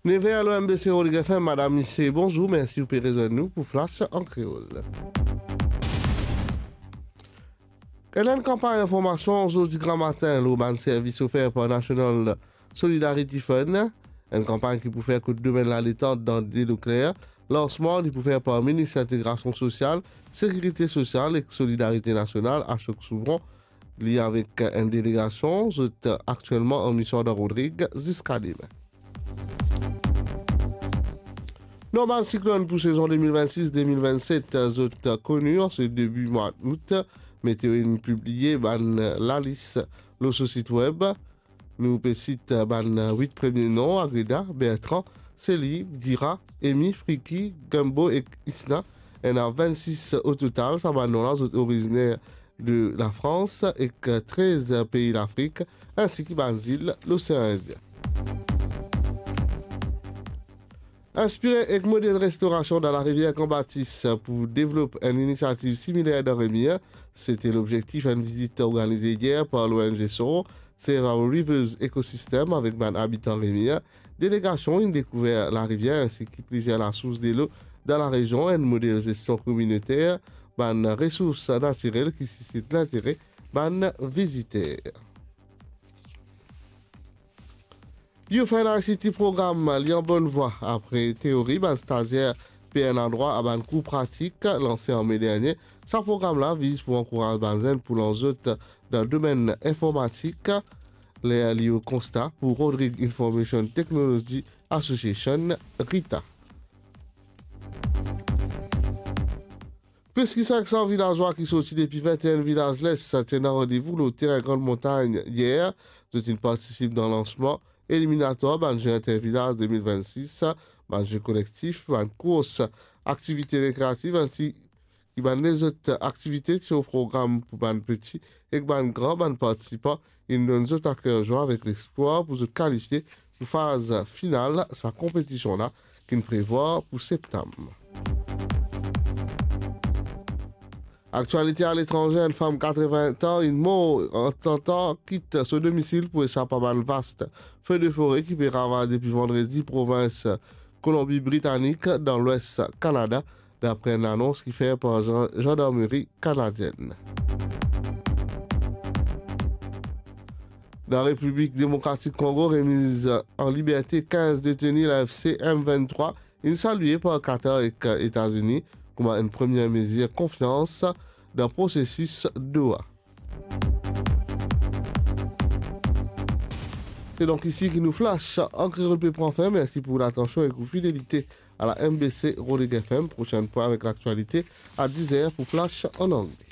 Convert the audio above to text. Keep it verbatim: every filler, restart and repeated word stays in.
Nev er lor M B C Rodrig F M, madam, misie, bonzour, mersi ou pe rezwenn nou pou Flash an Kreol. Enn, enn kanpagn informasion zordi gramatin lor bann servis ofer par National Solidarity Fund, enn kanpagn ki pou fer kot domenn laletant dan Delo Kler. Lansman li pou fer par Minis Lintegrasion Sosial, Sekirite Sosial ek Solidarite Nasional, Ashok Soubron. Li avek enn delegasion, zot aktielman an mision dan Rodrig ziska demin. Nom bann siklonn pou sezon de mil vennsis de mil vennset, zot koni an se debi mwa out. Meteo inn pibliye bann lalis lor so sit web. Nou pe sit bann wit premie nom: Agreda, Bertrand, Seli, Dira, Emi, Friki, Gumbo ek Isna. Ena vennsis ototal. Sa bann nom la, zot oriziner de Lafrans ek trez pei Lafrik, ensi ki bann zil Losean Indien. Inspire ek model restorasion dan larivier Kan Batis pou devlop enn inisiativ similer dan Remir, se te lobzektif enn vizit organize yer par l'O N G SOR, Save Our Rivers Ecosystem, avek bann abitan Remir. Delegasion inn dekouver larivier ensi ki plizier lasours delo dan larezion, enn model zestion kominoter bann resours natirel ki sisit lintere bann viziter. Youth and I C T Program, li an bonn vwa. Apre teori, bann stazier pe ena drwa a bann kour pratik lanse an me dernie. Sa program la viz pou ankouraz bann zenn pou lans zot dan domenn informatik, ler li o konsta pou Rodrig Information Technology Association, RITA. Plis ki sink san vilazwa ki sorti depi vinte-enn vilaz Les ti ena randevou lor terin Grann Montagn yer. Zot inn partisip dan lansman eliminatwar bann Jeu Intervilaz de mil vennsis, bann Jeu Kolektif, bann kours, aktivite rekreativ, ensi ki bann lezot aktivite ti o program pou bann peti ek bann gran. Bann partisipan inn donn zot aker zwa avek lespwar pou zot kalifie pou faz final sa konpetision la ki'nn prevwar pou septam. Aktialite aletranze, enn fam katrevin-wit an inn mor an tantan kit so domisil pou esap a bann vast fe de fore ki pe ravaz depi vandredi provins Kolonbi Britanik dan lwes Kanada, dapre enn anons ki fer par zan-, zandarmeri kanadienn. Dan Repiblik Demokratik Kongo, remiz an liberte kinz deteni la F C M venntrwa inn salie par Qatar ek Etazini kouma enn premie mezir konfians dan prosesis Doha. Se donk isi ki nou Flash an Kreol pe pran fin. Mersi pou latansion ek ou fidelite a la M B C Rodrig F M. Prosenn pwin avek laktialite a diz er pou Flash an angle.